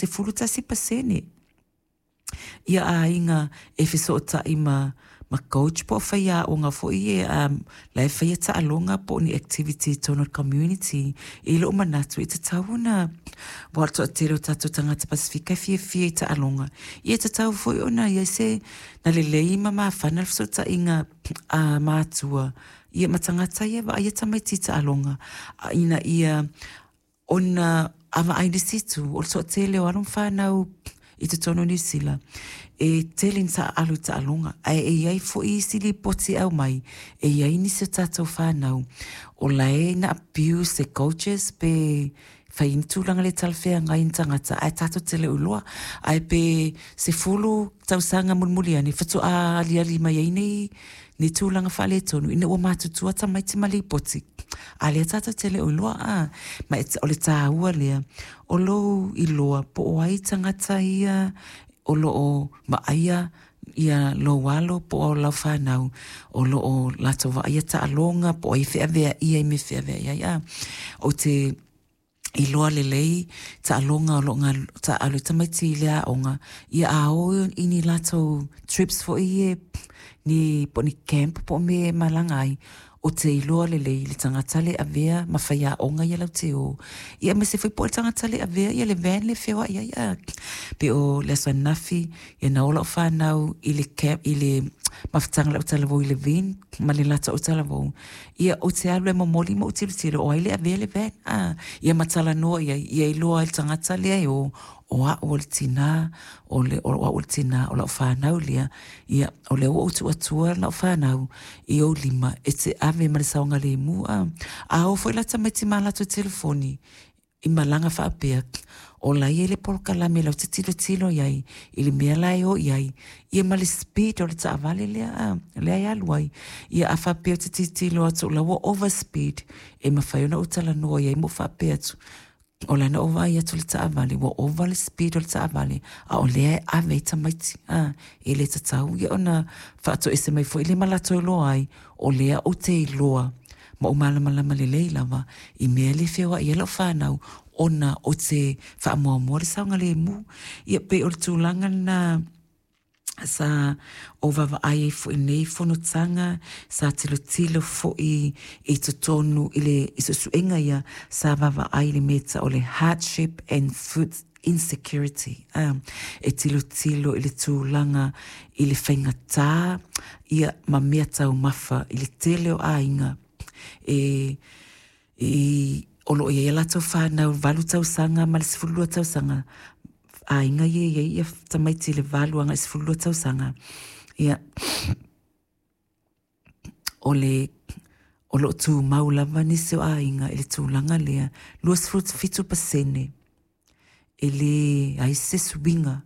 11% ia aiga e fesootai ma coach po o faiaoga foi ia la e faia taaloga po o ni activity i totonu o le community. I lou manatu e tatau ona, aua o le toatele o tatou tagata Pasefika e fiafia i taaloga, ia e tatau foi ona i ai se na lelei ma mafana le fesootaiga a matua ia ma tagata ia e vaaia tamaiti i taaloga, ina ia ona a vaai i le isi itu, o le toatele o alo ma fanau i totonu o Niu Sila, e tele ina taaalo i taaloga, ae e i ai foi isi lipoti e aumai, e i ai nisi o tatou fanau o la e na abuse e coaches pe fai ai ni tulaga le talafeagai i ni tagata, ae tatou te le o iloa. Ae pe 10 tausaga mulimuli ane, faatoa aliali mai ai nei nei tulaga faaletonu ina ua matutua tamaiti ma lipoti, a lea tatou te le o iloa a. Ma o le taua lea o lou iloa po o ai tagata ia o lo o vaaia ia lou alo po o lau fanau o lo o latou vaaia taaloga po o ai e feaveaia i mea e feaveai ai a. Ou te iloa lelei taaloga o lo o taaalo ai tamaiti i le aoga, ia a o i ni latou trips foi ia, ni po o ni camp po o mea e malaga ai, ou te iloa lelei le tagata lea e avea ma faiaoga ia latou te o, ia aemaise foi po o le tagata lea e avea ia le van lea e feoai ai a. Pei o le aso ananafi, ia na o lau fanau i le camp, i le mafutaga a le autalavou i Levin ma le latou autalavou, ia ou te alu e momoli ma ou tilotilo o ai le avea le van a, ia ma talanoa i ai, ia iloa ai e le tagata lea e o, o au o le tina, o au o le tina o lau fanau lea, ia o lea ua ou tuu atua lau fanau i ou lima e te ave ma le saogalemu a. A o foi la tamaiti ma latou telefoni i malaga faapea, o la e i ai le polokalame latou te tilotilo i ai i le mea la e o i ai, ia ma le speed o le taavale lea a, lea e alu ai. Ia a faapea ou te tilotilo atu o la ua over speed, e mafai ona ou talanoa i ai ma ou faapea atu, o la na ou vaai atu i le taavale ua ova le speed o le taavale, a o lea e ave ai tamaiti a, e le tatau ia ona faatoese mai foi lea ma latou iloa ai, o lea ou te iloa ma ou malamalama lelei lava i mea le feoai ai lau fanau ona ou te faamuamua le saogalemu. Ia pei o le tulaga lena sa ou vaavaai ai foi i nei fonotaga, sa tilotilo foi i totonu i le i suesuega ia, sa vaavaai i le mea e tau o le hardship and food insecurity, e tilotilo i le tulaga i le faigata ia ma mea taumafa i le tele o aiga e i o lo o i ai a latou fanau 8 tausaga ma le 12 tausaga, aiga ia e i ai ia tamaiti i le 8 agai i le 12 tausaga, ia o le o lo o tumau lava nisi o aiga i le tulaga lea, 27% e leai se suiga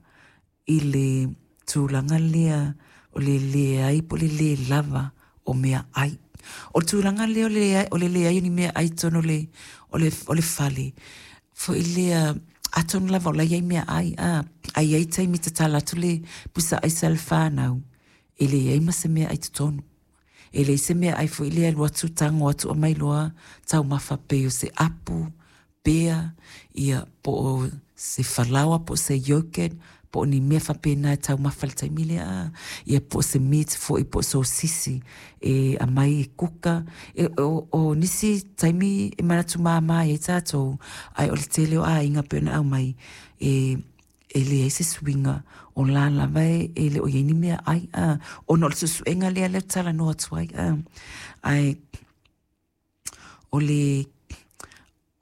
i le tulaga lea o le leai po o le lē lava o meaai. O le tulaga lea o le leai o ni meaai i totonu o le fale, foi lea, atonu lava o la e i ai meaai, ae i ai taimi e tatala atu le pusa aisa a le fanau, e leai ma se meaai i totonu. E leai se meaai foi lea e alu atu tago atu aumai loa taumafa pei o se apu, pea, ia po o se falaoa po o se yogurt, po o ni mea faapena e taumafa i le taimi lea, a. Ia po o se meat foi po o sosisi e aumai e kuka. O nisi taimi e manatu mama ai tatou, ae o le tele o aiga pei ona aumai, e e leai se suiga o la lava e le o i ai ni meaai a, ona o le suesuega lea lea ou te talanoa atu ai a. Ae o le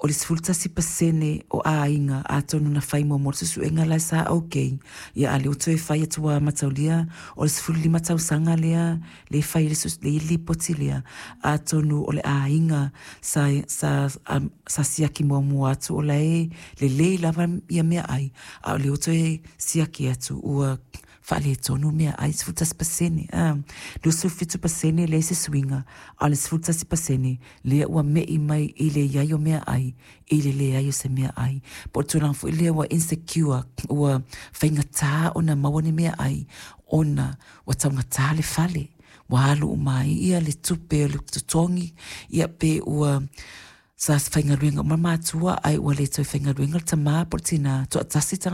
o le 11% o aiga atonu na fai muamua le suesuega la e sa okay, ia a lea ua toe fai atu ua mataulia o le 15 tausaga lea lea e fai ai le lipoti lea, atonu o le aiga sa sa sa siaki muamua atu o la e lelei lava ia meaai, a o lea ua toe siaki atu ua faaletonu meaai, 11%, a. 27% leai se suiga, a o le 11% lea ua me'i mai i le i ai o meaai i le leai o se meaai. Po o le tulaga foi lea ua insecure, ua faigata ona maua ni meaai ona ua taugata le fale, ua alu uma ai ia le tupe o le totogi, ia pe ua sa faigaluega uma matua ae ua le toe faigaluega le tamā po o le tinā, toatasi tagata.